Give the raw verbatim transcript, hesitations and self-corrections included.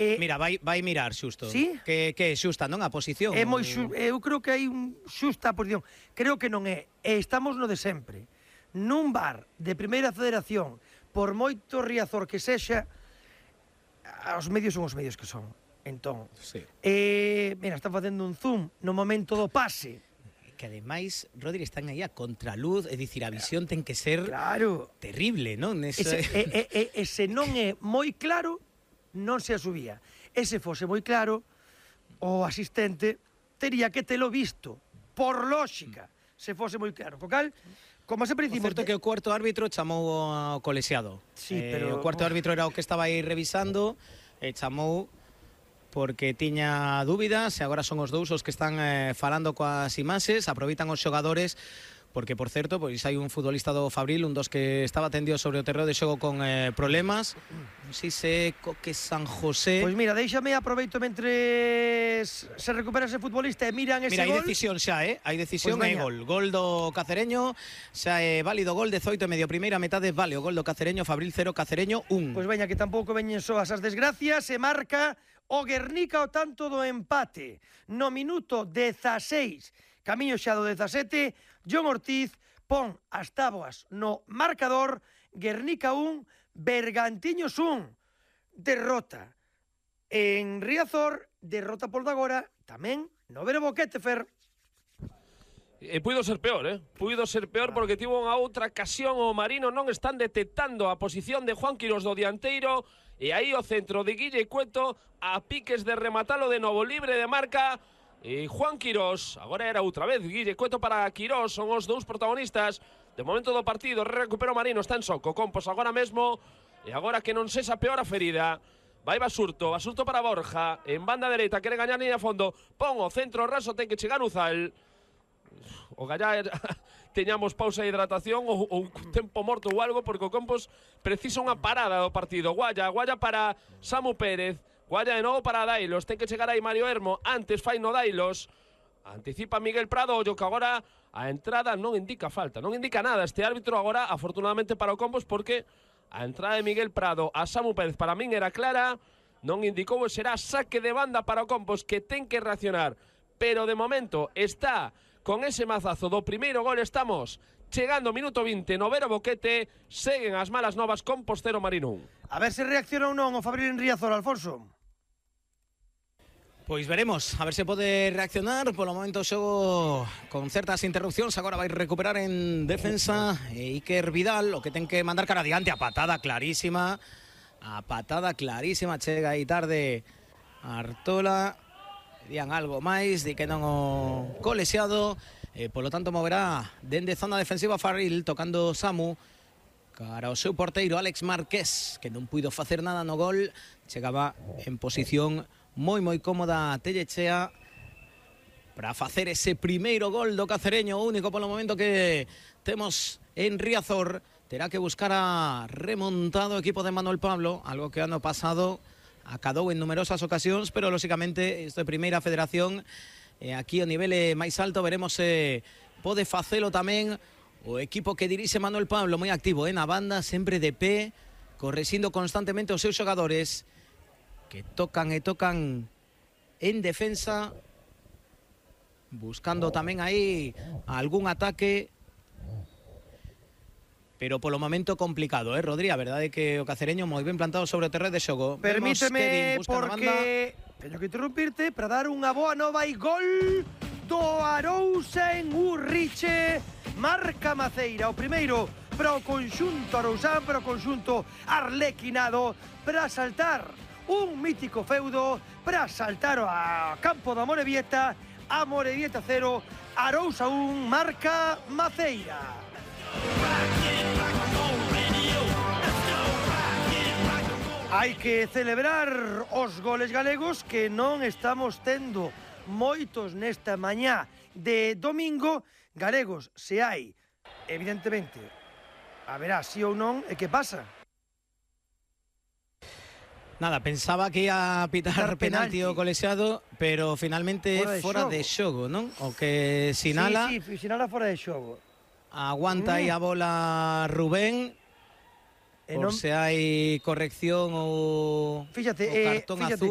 Eh, Mira, vai, vai mirar xusto. Sí? Que, que é xusta, non? A posición. É moi xu, eu creo que hai un xusta posición. Creo que non é. E estamos no de sempre. Nun bar de primeira federación, por moito Riazor que sexa, os medios son os medios que son. Entón, Sí. eh, mira, están facendo un zoom no momento do pase. Que ademais, Rodri, están aí a contraluz, é dicir, a visión ten que ser Claro. terrible, non? Ese... Ese, e, e, e, e se non é moi claro, non se asubía. E se fose moi claro, o asistente tería que telo visto, por lógica, se fose moi claro. Co cal, como sempre O dicimos... certo é que o cuarto árbitro chamou ao colexiado. Sí, eh, pero... O cuarto árbitro era o que estaba aí revisando, e chamou porque tiña dúbidas, e agora son os dous os que están eh, falando coas imaxes, aproveitan os xogadores, porque, por certo, pois hai un futbolista do Fabril, un dos que estaba tendido sobre o terreo de xogo con eh, problemas, non sei se Coque San José... Pois mira, déixame, aproveito mentre se recupera ese futbolista e miran ese Mira, hai gol. decisión xa, eh? Hai decisión Pois e veña. gol. Gol do Cacereño, xa é válido gol dezoito e medio primeira metade, vale o gol do Cacereño, Fabril cero, Cacereño un. Pois veña, que tampouco veñen soas as desgracias, se marca o Guernica o tanto do empate. No minuto dezaseis, camiño xa do dezasete, John Ortiz pon as táboas no marcador, Guernica un, Bergantiños un. Derrota en Riazor, derrota por agora, tamén no Vero Boquete, Fer. E puido ser peor, eh? Puido ser peor porque tivo unha outra ocasión o Marino, non están detectando a posición de Juan Quirós do dianteiro, e aí o centro de Guille Cueto a piques de rematalo de novo, libre de marca, e Juan Quirós, agora era outra vez Guille Cueto para Quirós, son os dous protagonistas de momento do partido. Recupera o Marino, está en soco, Compos agora mesmo, e agora que non sexa peor a ferida, vai Basurto, Basurto para Borja, en banda dereita, quere gañar liña a fondo, pon o centro raso, ten que chegar Uzal. O Gallá teñamos pausa de hidratación ou, ou tempo morto ou algo, porque o Compos precisa unha parada do partido. Guaya, Guaya para Samu Pérez, Guaya de novo para Dailos, ten que chegar aí Mario Hermo, antes fai no Dailos, anticipa Miguel Prado, ollo que agora a entrada non indica falta, non indica nada este árbitro agora, afortunadamente para o Compos, porque a entrada de Miguel Prado a Samu Pérez para min era clara, non indicou, será saque de banda para o Compos, que ten que reaccionar, pero de momento está con ese mazazo do primeiro gol. Estamos chegando ao minuto vinte no Vero Boquete, seguen as malas novas, Compos cero, Marino un. A ver se reacciona ou non o Fabril en Riazor, Alfonso. Pois veremos, a ver se pode reaccionar. Polo momento o xogo con certas interrupcións, agora vai recuperar en defensa e Iker Vidal, o que ten que mandar cara adiante, a patada clarísima, a patada clarísima, chega aí tarde Artola, dirían algo máis, di que non o colexiado, e polo tanto moverá dende zona defensiva Fabril, tocando Samu, cara ao seu porteiro Alex Márquez, que non puido facer nada no gol, chegaba en posición moi moi cómoda Tellechea para facer ese primeiro gol do Cacereño, único polo momento que temos en Riazor. Terá que buscar a remontado equipo de Manuel Pablo, algo que ano pasado acadou en numerosas ocasións, pero lógicamente isto é primeira federación, e aquí o nivel é máis alto, veremos se pode facelo tamén o equipo que dirixe Manuel Pablo, moi activo, eh, na banda, sempre de pé, correxindo constantemente os seus xogadores, que tocan e tocan en defensa, buscando tamén aí algún ataque, pero polo momento complicado, eh, Rodri, a verdade é que o Cacereño moi ben plantado sobre o terreno de xogo. Permíteme, porque teño que interrumpirte para dar unha boa nova e gol do Arousa en Urriche. Marca Maceira, o primeiro para o conxunto arousán, para o conxunto arlequinado, para saltar un mítico feudo, para saltar a campo da Amorebieta, Amorebieta cero, Arousa un, marca Maceira. Hai que celebrar os goles galegos, que non estamos tendo moitos nesta mañá de domingo. Galegos, se hai, evidentemente, haberá sí ou non, e que pasa? Nada, pensaba que ia a pitar penalti o colexiado, pero finalmente é fora de xogo, non? O que sinala... Sí, sí, sinala fora de xogo. Aguanta aí a bola Rubén, por se hai corrección ou fíjate, o cartón eh, fíjate, azul.